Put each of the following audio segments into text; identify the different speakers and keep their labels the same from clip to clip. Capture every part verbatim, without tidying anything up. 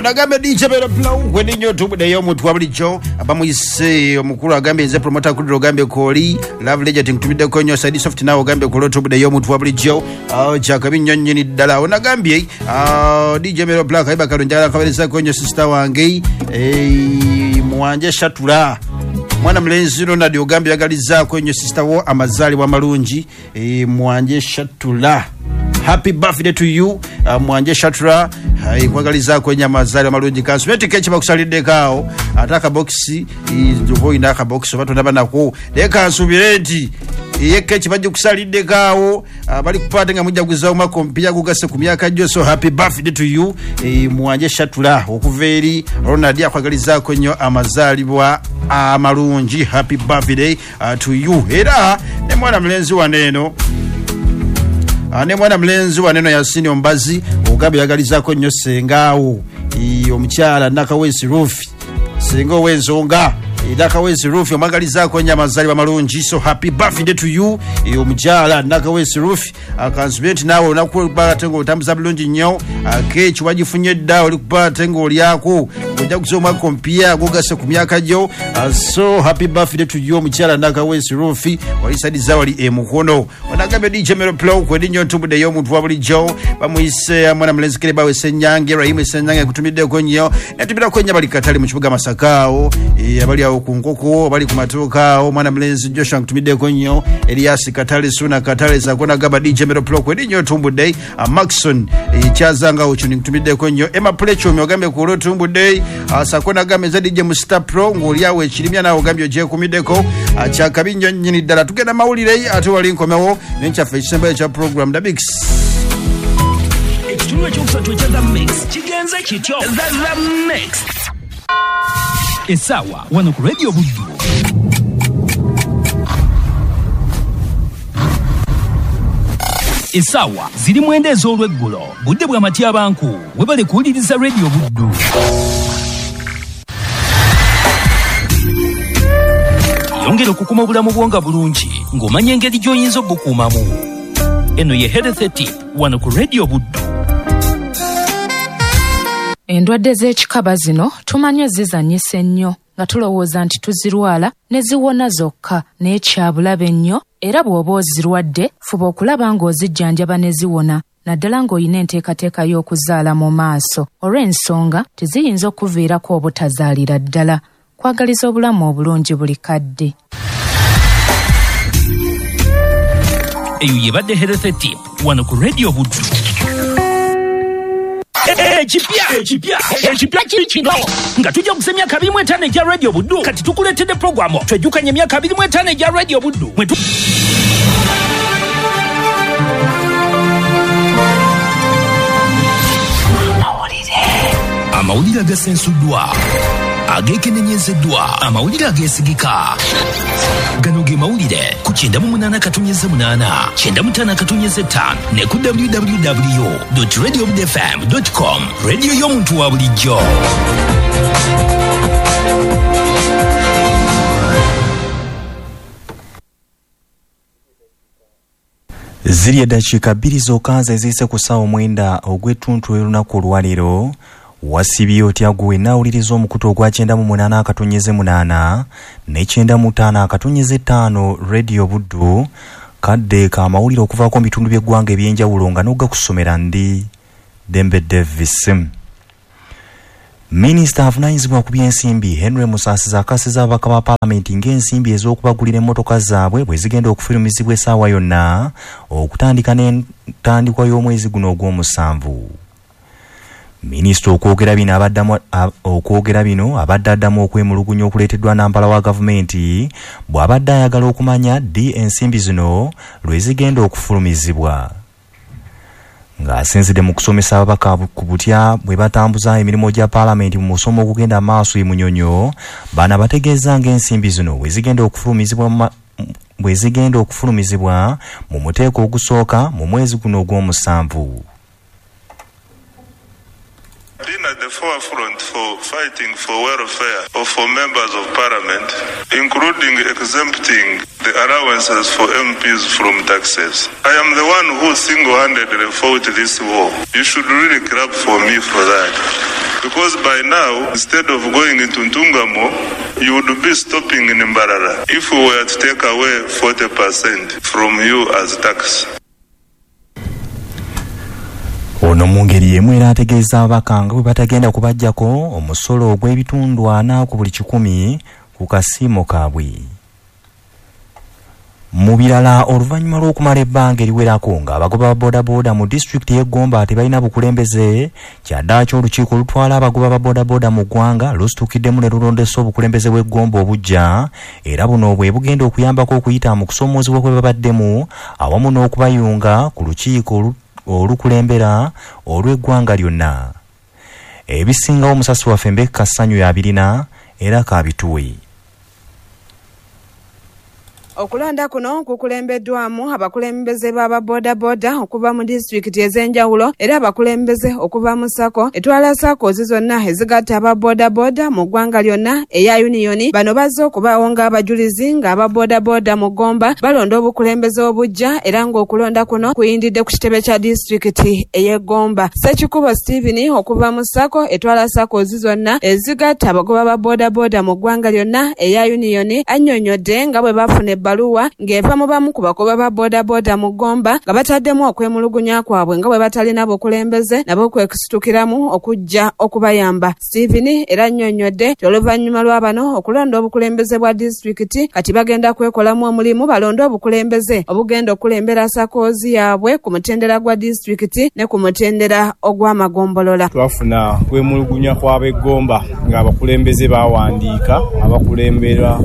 Speaker 1: Onagambe D J Mero Blow weninyo tubuddeyo omuntu wa bulijjo abamuyise omukulu agambye nze promoter Kudro ogambye kooli Love Legend nkutumiddeko nnyo Saidi Soft nawe ogambye kooli tubuddeyo omuntu wa bulijjo kyakabi nnyo nnyini ddala. Onagambye D J Mero Black ayiba kalungi akabeerezako nnyo sister wange Mwanje Shatula mwana mulenzi Ronald ogambye yagalizaako nnyo sister wo amazaalibwa amalungi Mwanje Shatula. Happy birthday to you uh, Mwanje Shatra nkwagalizaako ennyo amazaalibwa amalungi. Kansubeti keki bakusaliddeko awo ate akabokisi oba olina akabokisi oba tonaba nako naye kansubire nti ye keki bagikusalideko awo bali kupaate nga mujjaguza omwaka omupya gugase ku myaka gyo. So happy birthday to you e, Mwanje Shatula okuva eri Ronald akwagalizaako nnyo amazaalibwa amalungi. Happy birthday uh, to you. Era ne mwana mulenzi wano eno ne mwana mulenzi waneno Yasini Ombazi ogambye yagalizaako nnyo sengaawo omukyala Nakawesi Rufi senga ow'ensonga Nakawesi Rufi omwagalizaako nnyo amazaalibwa amalungi. So happy birthday to you omukyala Nakawesi Rufi. Akansubire nti naawe olunaku ate ng'otambuza bulungi nnyo keeki wagifunye dda oli kuba ate ng'olyako ojja kuza omwaka omupya gugase ku myaka gyo. So happy birthday to you omukyala Nakawesi Rufi walisadiza wali emukono. Onagambye D J Mero Plow kwedi nnyo ntubuddeyo omuntu wa bulijjo bamuyise mwana mulenzi Kerebawe Ssenyange Rahimu Ssenyange kutumiddeko nnyo netumirako nnyo abali Katale mu kibuga Masaka awo abali awo ku nkoko abali ku matuuka awo mwana mulenzi Joshua nkutumiddeko nnyo Elias Katale Suna Katale Zakona gaba D J Mero Plow kwedi nnyo ntumbudde Maxon Kyazanga okyo nkutumiddeko nnyo Emma Plechomi ogambye ku olwo tumbudde Sakona gamba eza D J Musta Pro ng'oli awo ekirimya naawe ogambye ogyekumiddeko kyakabi nnyo nnyini ddala. Tugenda mawulire ate wali nkomewo n'enkyaffe ekisembayo ekya program The Mix.
Speaker 2: Ekitundu ekyokusatu ekya The Mix kigenze kityo. The Mix essaawa wano ku Radio Buddu. Essaawa ziri mwenda ez'olweggulo budde bwa matyabanku webale kuwuliriza Radio Buddu. Yongera okukuma obulamu bwo nga bulungi ng'omanya engeri gy'oyinza obukuumamu. Eno ye Health Tip wano ku Radio Buddu.
Speaker 3: Endwadde z'ekikaba zino tumanyi zizannyisa ennyo nga tulowooza nti tuzirwala ne ziwona zokka naye kyabulabe nnyo era bw'oba ozirwadde fuba okulaba ng'ozijjanjaba ne ziwona naddala ng'olina enteekateeka y'okuzaala mu maaso olw'ensonga teziyinza okuviirako obutazaalira ddala. Kwagaliza obulamu obulungi buli kadde.
Speaker 2: Eyo yebadde Health Tip wano ku Radio Buddu. Ekipya ekipya ekipya kiri kino nga tujja kusa emyaka abiri mu etaano egya Radio Buddu. Kati tukuleetedde puroguramu twejjukanye emyaka abiri mu etaano egya Radio Buddu. Amawulire agasensuddwa ageekenenyezeddwa amawulire ageesigika gano ge mawulire ku kyenda mu munaana katonnyeze munaana kyenda mu ttaano katonnyeze ttaano ne ku w w w dot radio buddu f m dot com. Radio y'omuntu wa bulijjo.
Speaker 4: Ziri eddakiika bbiri zokka eziyise ku ssaawa mwenda ogw'ettuntu olunaku olwaleero. Wasibye otya gwe naawuliriza omukutu ogwa kyenda mu munaana akatonnyeze munaana ne kyenda mu ttaano akatonnyeze ttaano Radio Buddu kadde k'amawulire okuvaako mu bitundu by'eggwanga eby'enjawulo nga n'ogakusomera ndi Dembe Davis. Minisita avunaanyizibwa ku by'ensimbi Henry Musaasizi akasiza ababaka ba paalamenti ng'ensimbi ez'okubagulira emmotoka zaabwe bwe zigenda okufulumizibwa essaawa yonna okutandika n'entandikwa y'omwezi guno ogw'omusanvu. Minisita okwogera bino abaddamu okwogera bino abadde addamu okwemulugunya okuleeteddwa nampala wa gavumenti bw'abadde ayagala okumanya ddi ensimbi zino lwe zigenda okufulumizibwa. Ng'asinzidde mu kusomesa ababaka ku butya bwe batambuza emirimu gya paalamenti mu musomo ogugenda maaso e Munyonyo, bano bategeeza ng'ensimbi zino bwe zigenda okufulumizibwa bwe zigenda okufulumizibwa mu muteeko ogusooka mu mwezi guno ogw'omusanvu.
Speaker 5: Been at the forefront for fighting for welfare of for members of parliament, including exempting the allowances for M Ps from taxes. I am the one who single-handedly fought this war. You should really clap for me for that. Because by now, instead of going into Ntungamo, you would be stopping in Mbarara if we were to take away forty percent from you as tax.
Speaker 4: Ono mu ngeri y'emu era ategeeza ababaka nga bwe batagenda kubaggyako omusolo ogw'ebitundu ana ku buli kikumi ku kasiimo kaabwe. Mu birala, oluvannyuma lw'okumala ebbanga eriwerako ng'abagoba ba boodabooda mu disitulikiti y'e Gomba tebalina bukulembeze, kyaddaaki olukiiko olutwala abagoba ba boodabooda mu ggwanga lusitukiddemu ne lulondesa obukulembeze bw'e Gomba obuggya, era buno bwe bugenda okuyambako okuyita mu kusoomoozebwa kwe babaddemu awamu n'okubayunga ku lukiiko olukulembera olw'eggwanga lyonna. Ebisingawo omusasi waffe Mbeka Ssanyu yabirina era kabituwe.
Speaker 6: Okulonda kuno kukulembeddwamu abakulembeze b'ababoodabooda okuva mu disitulikiti ez'enjawulo era abakulembeze okuva mu SACCO etwala SACCOs zonna ezigatta ababoodabooda mu ggwanga lyonna eya Union. Bano bazze okubaawo ng'abajulizi ng'ababoodabooda mu Gomba balonda obukulembeze obuggya era ng'okulonda kuno kuyindidde ku kitebe kya disitulikiti ey'e Gomba. Ssekikubo Stephen okuva mu SACCO etwala SACCOs zonna ezigatta abagoba ba boodabooda mu ggwanga lyonna eya Union annyonnyodde nga bwe bafuna ebbaluwa ng'eva mu bamu ku bagoba ba boodabooda mu Gomba nga bataddemu okwemulugunya kwabwe nga bwe batalina bukulembeze nabo kwekusitukiramu okujja okubayamba. Stephen era annyonnyodde nti oluvannyuma lwa bano okulonda obukulembeze bwa disitulikiti kati bagenda kwekolamu omulimu balonde obukulembeze obugenda okulembera SACCOs yaabwe ku mutendera gwa disitulikiti ne ku mutendera ogw'amagombolola.
Speaker 7: Twafuna kwemulugunya kw'ab'e Gomba ng'abakulembeze bawandiika abakulembera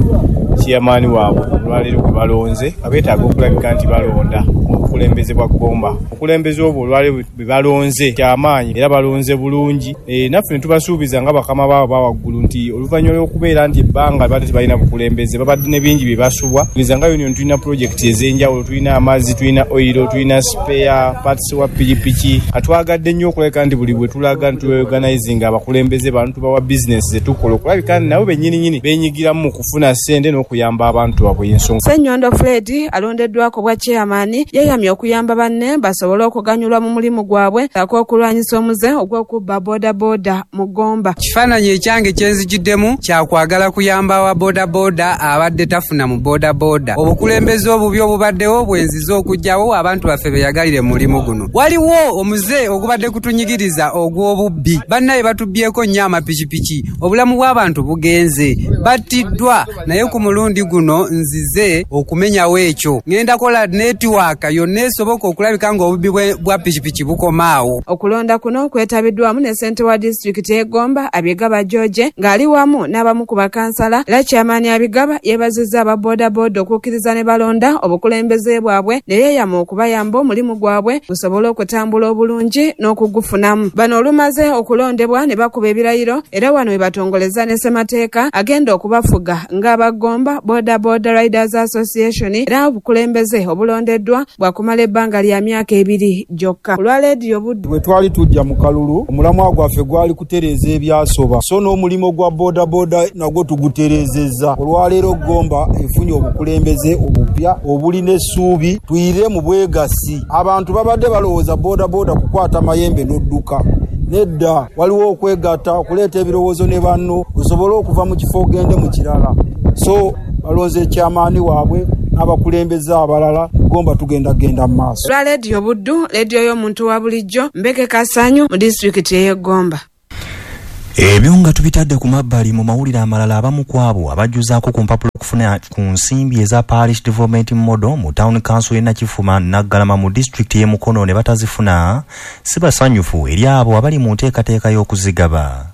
Speaker 7: chairman waabwe olwaleero gwe balonze abeetaaga okulabika nti balonda obukulembeze bwa Gomba. Obukulembeze obwo olwaleero bwe balonze kyamaanyi era balonze bulungi. E, naffe ne tubasuubiza nga bakama baabwe bawaggulu nti oluvannyuma lw'okubeera nti ebbanga babadde tebalina bukulembeze babadde ne bingi bye basubwa. Ngeza nga Union tulina pulojekiti ez'enjawulo, tulina amazzi, tulina oyiro, tulina spare parts wa pikipiki. Atwagadde nnyo okulabika nti buli bwe tulaga nti tweorganizinga abakulembeze bano tubawa bizinesi ze tukola okulabika nti nabo bennyininyini beenyigiramu mu kufuna ssente n'okuyamba abantu baabwe ensonga.
Speaker 6: Ssenyondo Fred alondeddwako bwa chairman yeeyamye okuyamba banne basobole okuganyulwa mu mulimu gwabwe ssaako okulwanyisa omuze ogw'okubba boodabooda mu Gomba.
Speaker 8: Kifaananyi ekyange kye nzijuddemu kyakwagala kuyamba wa boodabooda abadde tafuna mu boodabooda. Obukulembeze obubi obubaddewo bwenziza okuggyawo abantu baffe beyagalire mu mulimu guno. Waliwo omuze ogubadde kutunyigiriza ogw'obubbi, bannaye batubbyeko nnyo amapikipiki, obulamu bw'abantu bugenze, battiddwa, naye ku mulundi guno nzize okumenyawo ekyo. Ngenda kola netiwaaka yonna esoboka okulabika ng'obubbi bwa pikipiki bukomaawo.
Speaker 6: Okulonda kuno kwetabiddwamu ne ssentebe wa disitulikiti y'e Gomba Abigaba George ng'ali wamu n'abamu ku bakansala era chairman Abigaba yeebazizza aba boodabooda okukkiriza ne balonda obukulembeze bwabwe ne yeeyama okubayamba omulimu gwabwe gusobole okutambula obulungi n'okugufunamu. Bano olumaze okulondebwa ne bakuba ebirayiro era wano we batongoleza ne ssemateeka agenda okubafuga ng'aba Gomba Boda Boda Riders Association era obukulembeze obulondeddwa bwakumala ebbanga lya myaka ebiri gyokka. Olwa leediyo Buddu
Speaker 9: bwe twali tujja mu kalulu omulamwa gwaffe gwali kutereeza ebyasoba, so n'omulimu gwa boodabooda nagwo tugutereezezza. Olwaleero Gomba efunye obukulembeze obupya obulina essuubi, tuyire mu bwegasi. Abantu babadde balowooza boodabooda kukwata mayembe n'odduka. Nedda, waliwo okwegatta okuleeta ebirowoozo ne banno osobole okuva mu kifo ogende mu kirala. So balonze chairman waabwe n'abakulembeze abalala, Gomba tugenda genda mu maaso.
Speaker 6: Olwa leediyo Buddu, leediyo y'omuntu wa bulijjo, Mbeke Kasanyu mu disitulikiti ey'e Gomba.
Speaker 4: Ebyo nga tubitadde ku mabbali mu mawulire amalala, abamu ku abo abajjuzaako ku mpapula okufuna ku nsimbi eza Parish Development Model mu Town Council y'e Nakifuma Naggalama mu disitulikiti y'e Mukono ne batazifuna si basanyufu eri abo abali mu nteekateeka y'okuzigaba.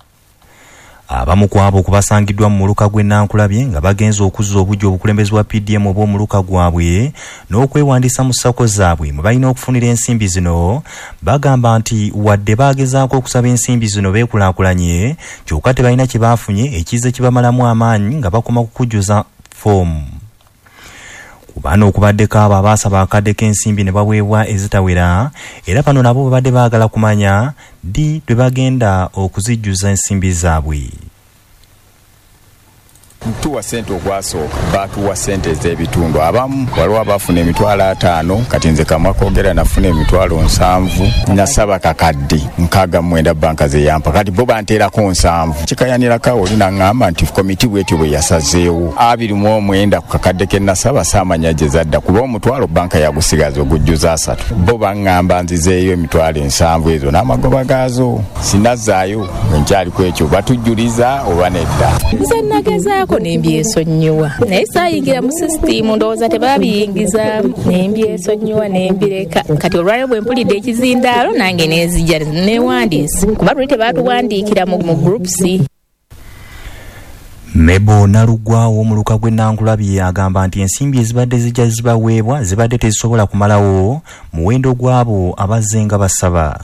Speaker 4: Abamu ku abo kubasangiddwa mu muluka gw'e Nankulabye nga bagenze okuzza obuggya obukulembeze bwa P D M obw'omuluka gwabwe n'okwewandiisa mu SACCO zaabwe mwe balina okufunira ensimbi zino, bagamba nti wadde baagezaako okusaba ensimbi zino beekulaakulanye, kyokka tebalina kye baafunye ekize kibamalamu amaanyi nga bakoma ku kujjuza foomu. Ku bano okubaddeko abo abaasaba akadde k'ensimbi ne baweebwa ezitawera, era bano nabo babadde baagala kumanya ddi lwe bagenda okuzijjuza ensimbi zaabwe.
Speaker 10: Tuwa sente ogwasooka, batuwa sente ez'ebitundu. Abamu waliwo abafuna emitwalo ataano, kati nze kamwa koogera nafuna emitwalo nsanvu, nasaba kakadde nkaaga mu mwenda banka ze yampa, kati bo banteerako nsanvu. Kikayanirako awo oli naŋŋamba nti komiti bwetyo bwe yasazeewo abiri mu omwenda ku kakadde ke nasaba saamanya gye zadda, kuba omutwalo banka yagusigaza ogujjuza asatu. Bo baŋŋamba nzizeeyo emitwalo ensanvu ezo n'amagoba gaazo, sinazzaayo nkyali ku ekyo, batujjuliza oba nedda.
Speaker 11: Nze nagezaako nembyesonyiwa, naye saayingira mu sisitimu, ndowooza tebabiyingizaamu, nembyesonyiwa nembireka. Kati olwaleero bwe mpulidde ekizindaalo nange nenzija newandiise, kuba luli tebatuwandiikira mu groups.
Speaker 4: Mebo Nalugwa w'omuluka gw'e Nankulabye agamba nti ensimbi ezibadde zijja zibaweebwa zibadde tezisobola kumalawo muwendo gw'abo abazze nga basaba.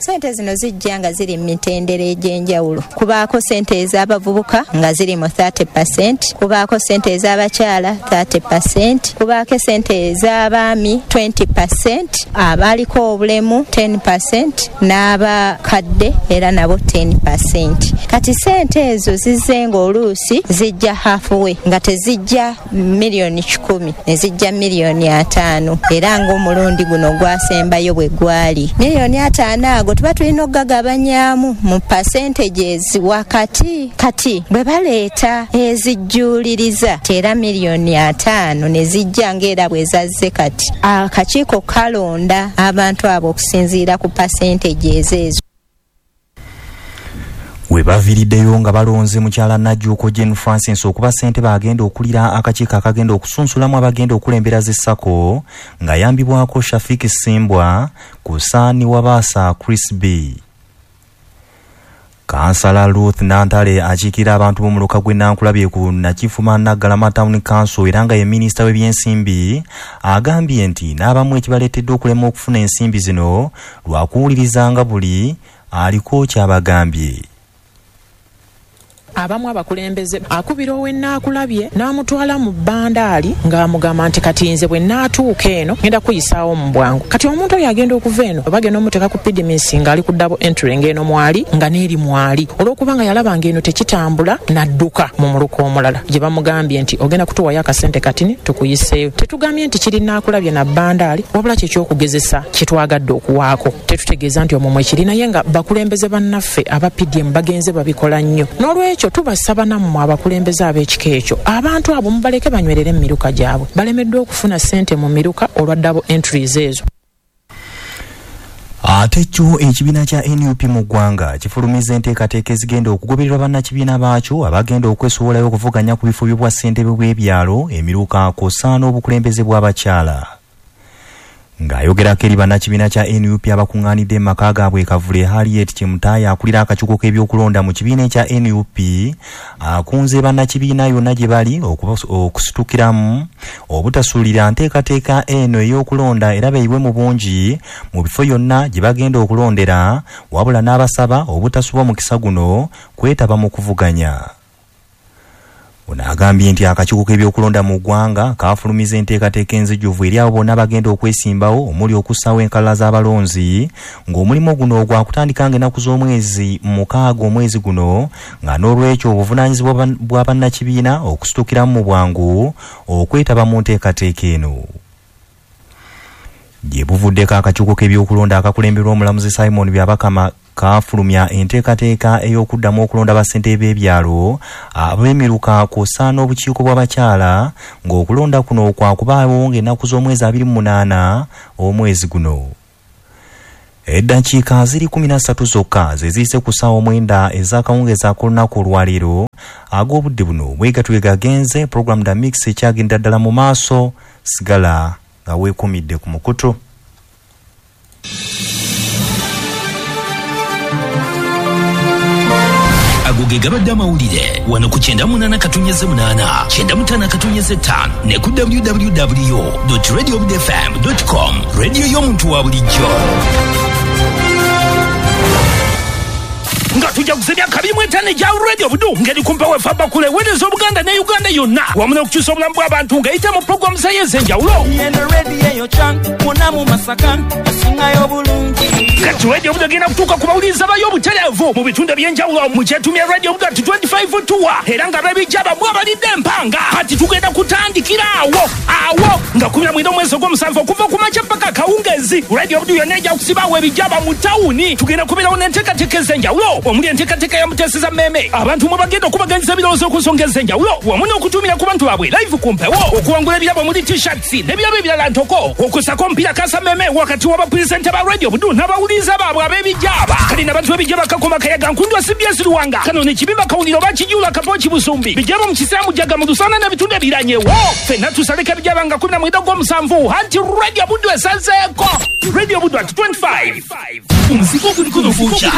Speaker 12: Sente zino zijja nga ziri mu mitendera egy'enjawulo. Kubaako sente ez'abavubuka nga ziri mu thirty percent, kubaako sente ez'abakyala thirty percent, kubaako sente ez'abaami twenty percent, abaliko obulemu ten percent, n'abakadde era nabo ten percent. Kati sente ezo zizze ng'oluusi zijja halfway, nga tezijja miliyoni kikumi, ne zijja miliyoni ataano, era ng'omulundi guno gwasembayo bwe gwali miliyoni ataano ago tuba tulina okugagabanyaamu mu percentages wakati. Kati bwe baleeta ezijjuuliriza era miliyoni ataano ne zijja ng'era bwe zazze, kati akakiiko kalonda abantu abo okusinziira ku percentages ezo.
Speaker 4: We baviiriddeyo nga balonze mukyala Najjuuko Jane Francis okuba ssentebe agenda okulira akakiiko akagenda okusunsulamu abagenda okulembera zi SACCO ng'ayambibwako Shafik Simbwa ku Saani Wabaasa Chris B. Kansala Ruth Nantale akiikirira abantu b'omuluka gw'e Nankulabye ku Nakifuma Naggalama Town Council era nga ye minisita w'ebyensimbi agambye nti n'abamu ekibaleetedde okulema okufuna ensimbi zino lwakuwulirizanga buli aliko ky'abagambye.
Speaker 13: Abamu abakulembeze akubira ow'ennaakulabye n'amutwala mu bbandaali ng'amugamba nti kati nze bwe nnaatuuka eno ngenda kuyisaawo mu bwangu. Kati omuntu oyo agenda okuva eno bagenda omuteeka ku pidimisi ng'ali ku double entry ng'eno mwali nga n'eri mwali, olw'okubanga yalaba ng'eno tekitambula n'adduka mu muluka omulala gye bamugambye nti ogenda kutuwayo akasente katini tukuyiseeyo. Tetugambye nti kiri nnaakulabye na bbandaali, wabula kye ky'okugezesa kye twagadde okuwaako. Tetutegeeza nti omwo mwe kiri, naye nga bakulembeze bannaffe aba P D M bagenze babikola nnyo. N'olwekyo tubasaba nammwe abakulembeze ab'ekika ekyo, abantu abo mubaleke banywerere mu miruka gyabwe. Balemeddwa okufuna ssente mu miruka olwa double entries ezo.
Speaker 4: Ate kyo ekibiina kya N U P mu ggwanga kifulumiza enteekateeka ezigenda okugobererwa bannakibiina baakyo abagenda okwesowolayo okuvuganya ku bifo by'obwa ssentebe bw'ebyalo, emiruka kw'ossa n'obukulembeze bw'abakyala. Ng'ayogerako eri bannakibiina kya N U P abakuŋŋaanidde mu maka gaabwe e Kavule, Harriet Kimutaaya akulira akakiiko k'ebyokulonda mu kibiina ekya N U P akunze bannakibiina yonna gye bali okusitukiramu obutasuulira nteekateeka eno ey'okulonda era beeyiwe mu bungi mu bifo yonna gye bagenda okulondera, wabula n'abasaba obutasubwa mukisa guno kwetaba mu kuvuganya. Ono agambye nti akakiiko k'ebyokulonda mu ggwanga kafulumiza enteekateeka enzijuvu eri abo bonna bagenda okwesimbawo omuli okussaawo enkalala z'abalonzi, ng'omulimu guno gwakutandika ng'ennaku z'omwezi mukaaga omwezi guno, nga n'olwekyo obuvunaanyizibwa bwa bannakibiina okusitukiramu mu bwangu okwetaba mu nteekateeka eno. Gye buvuddeko akakiiko k'ebyokulonda akakulemberwa omulamuzi Simon Byabakama kafulumya enteekateeka ey'okuddamu okulonda bassentebe b'ebyalo ab'emiruka kw'ossa n'obukiiko bw'abakyala, ng'okulonda kuno kwakubaawo ng'ennaku z'omwezi abiri mu munaana omwezi guno. Eddakiika ziri kumi na ssatu zokka ze ziyise ku ssaawa omwenda ez'akawungeezi ak'olunaku olwaleero. Ag'obudde buno bwe gatyo gagenze, program da mix ekyagenda ddala mu maaso. Sigala nga weekumidde ku mukutu.
Speaker 2: Ago ge gabadde amawulire wano ku kyenda munaana katunyeze munaana kyenda mutaano katunyeze ttaano ne ku w w w dot radio b f m dot com. Radio y'omuntu wa bulijjo.
Speaker 14: Nga tujja kusimya kabiri mu etaano egya Radio Budu ngeri kumpa wefa bakule weereza Obuganda ne Uganda yonna wamu n'okukyusa obulamu bw'abantu ng'eyita mu pulogulaamu zayo ez'enjawulo.
Speaker 15: Eno radio eyo chan, mwona mu Masaka, esingayo bulungi.
Speaker 14: Nga Nti Radio Buddu egenda kutuuka ku bawuliriza bayo obutereevu mu bitundu ebyenjawulo mu kyetumya Radio Buddu at twenty-five tour, era nga b'ebijaba mwe abalidde empanga. Kati tugenda kutandikira awo awo nga kumi na mwenda omwezi ogw'omusanvu okuva ku makya paka akawungeezi. Radio Buddu yonna ejja kusibaawo ebijaba mu tawuni. Tugenda kubeerawo n'enteekateeka ez'enjawulo omuli enteekateeka ya Muteeseza Mmeeme, abantu mwe bagenda okubaganyiza ebirowoozo ku nsonga ez'enjawulo wamu n'okutumira ku bantu baabwe live ku mpewo, okuwangula ebirabo omuli t-shirts n'ebirabo ebirala ntoko, okusako omupiira kasa mmeeme wakati w'abapulezidenti ba Radio Buddu n'abawuliriza baabwe ab'ebijaba. Kale n'abantu b'ebijaba Kakoma Kayaga Nkundwa C B S Luwanga kano ne Kibimba Kawuliro oba Kijuula Kapooki Busumbi bijaba mu Kisaamu Jaga mu Lusana n'ebitundu ebiranyewo. Ffenna tusaleko ebijaba nga kumi na mwenda ogw'omusanvu anti Radio Buddu esazeeko. Radio Buddu at twenty-five. Omuzigo guliko nofuuca.